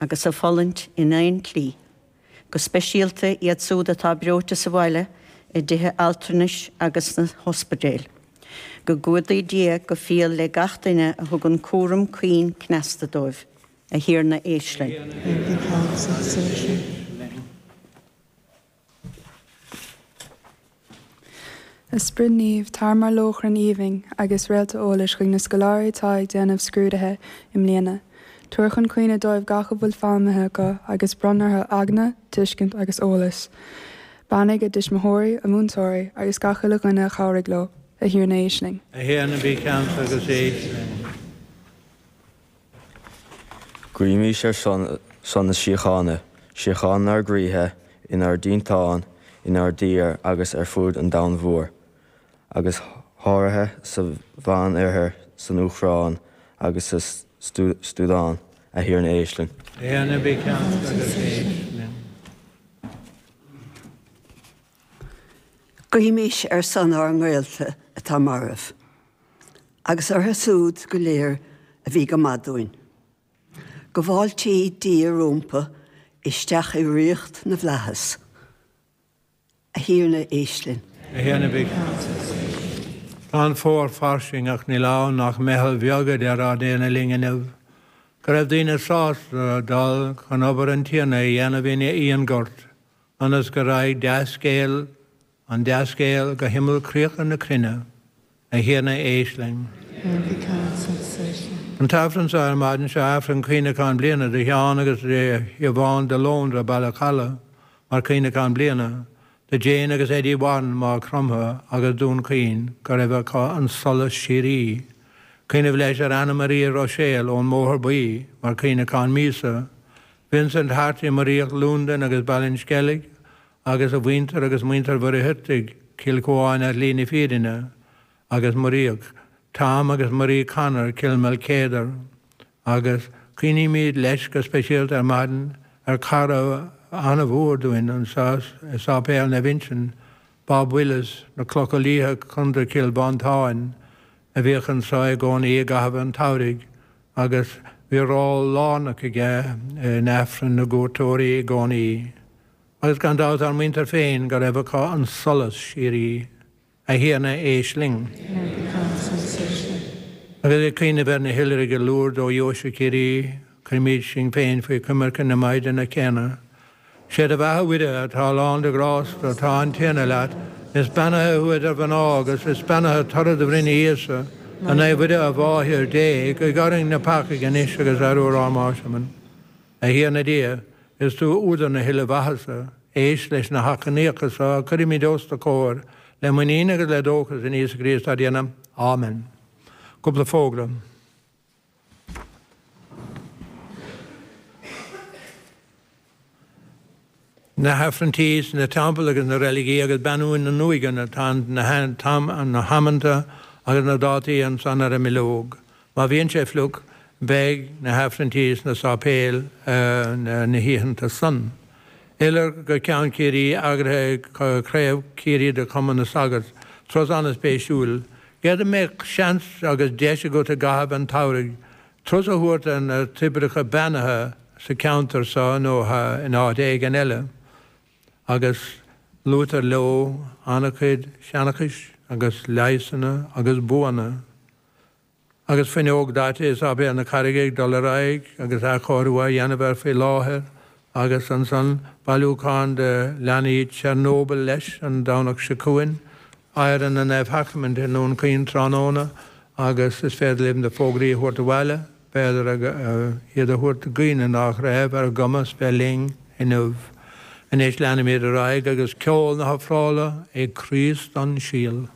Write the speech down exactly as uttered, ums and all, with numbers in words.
agus a fulaingt in aon tslí, go speisialta iad súd atá breoite sa bhaile, i dtithe altranais agus sna hospidéil. Go gcumhdaí Dia go fial le gach duine a thugann cúram caoin cneasta dóibh. A Thiarna éist linn. A Sprid Naoimh, tar mar lóchrann aoibhinn agus réalta eolais chuig na scoláirí atá ag déanamh scrúduithe i mbliana. Tabhair chun cuimhne dóibh gach a bhfuil foghlamtha acu agus bronn orthu eagna, tuiscint agus eolas. Beannaigh a dtuismitheoirí, a múinteoirí agus gach uile dhuine a chabhraigh leo. A Thiarna éist linn. A Thiarna bí ceansa agus éist linn. Guímís ar son son na síochána, síocháin inár gcroíthe, inár dtinteán, inár dtír agus ar fud an domhain mhóir, agus háirithe sa Mheánoirthear, san Úcráin agus sa Súdáin. A Thiarna éist linn. A Thiarna bí ceansa agus éist linn. Guímís ar son ár ngaolta atá marbh, agus orthu siúd go léir a bhí go maith dúinn. Go bhfáiltí Dia rompu isteach i ríocht na bhflaitheas. A Thiarna éist linn. A Thiarna bí ceansa. Tá an fómhar fairsing ach níl ann ach meitheal bheag a deir ár dTiarna linn inniu, go raibh daoine sásta dul chun obair an Tiarna a dhéanamh ina fhíonghort, ionas go raghaidh dea-scéal an dea-scéal go himeall críocha na cruinne. A Thiarna éist linn. An tAifreann seo ar maidin seo Aifreann Cuimhneacháin Bliana do Sheán agus do Shiobhán de Lóndra, Baile Chalaidh, mar Cuimhneachán Bliana, do Jane agus Eddie Warren, Maigh Chromtha agus Dún Chaoin, go raibh acu an solas síoraí. Cuimhneamh leis ar Anna Maria Ruiséal ón mBóthar Buí, mar Cuimhneachán Míosa, Vincent Harte i Muiríoch Lúndain agus Ballinskellig, agus a mhuintir agus muintir Mhuircheartaigh, Cill Chuáin ar shlí na fírinne, agus Muiríoch, Tom agus Marie Connor, Kilmalkedar, agus cuimhnímid leis go speisialta ar maidin ar chara an-mhór dúinn anseo i Sáipéal Naomh Uinseann, Bob Willis, Na Clocha Liatha, Contae Chill Mhantáin, a bhíodh anseo i gcónaí i gcaitheamh an tsamhraidh agus bhí ról lárnach aige in Aifreann na gCuairteoirí i gcónaí. Agus gan dabht ár muintir féin go raibh acu an solas síoraí. A Thiarna éist linn. Agus ag cuimhneamh ar na hoilithrigh i Lourdes ó Dheoise Chiarraí, cuirimid sinn féin faoi choimirce na Maighdine céanna. Sé do bheatha a Mhuire, atá lán de ghrásta, tá an Tiarna leat, is beannaithe thú idir mhná agus is beannaithe toradh do bhroinne Íosa. A Naomh Mhuire, a Mháthair Dé, guigh orainn na peacaigh anois agus ar uair ár mbáis. Amen. A Thiarna Dia, is tú údar na huile mhaitheasa, éist leis na hachainíocha seo a chuirimid os do chomhair, le muinín agus le dóchas in Íosa Críost ár dTiarna. Amen. Cúpla fógra. Na hAifrinntí sna teampaill agus na reiligí agus beannú na n-uaigheanna, tá na hamanta agus na dátaí ansan ar an mbileog. Má bhíonn sé fliuch, beidh na hAifrinntí sna sáipéil na hoícheanta san. Oilear go Ceann Ciarraí eagraithe ag Craobh Chiarraí de Chumann na Sagart, turas an-spéisiúil. Céard a mbeadh seans agus deis agat i gcaitheamh an tsamhraidh turas a thabhairt ar na toibreacha beannaithe sa cheantar seo nó in áit éigin eile agus luaitear leo an-chuid seanchais agus leigheasanna agus buanna. Agus fuinneog daite i Sáipéal na Carraige ag dul ar aghaidh agus athchóiriú á dhéanamh air faoi láthair agus ansan bailiúchán de leanaí Chernobyl leis an Domhnach seo chugainn, Adhradh na Naomh Shacraimint i nDún Chaoin tráthnóna agus is féidir libh na fógraí a thabhairt abhaile, b'fhéidir iad a thabhairt do dhaoine nach raibh ar a gcumas bheith linn inniu. Anois leanfaimid ar aghaidh agus ceol na hofrála ag Críost an Síol.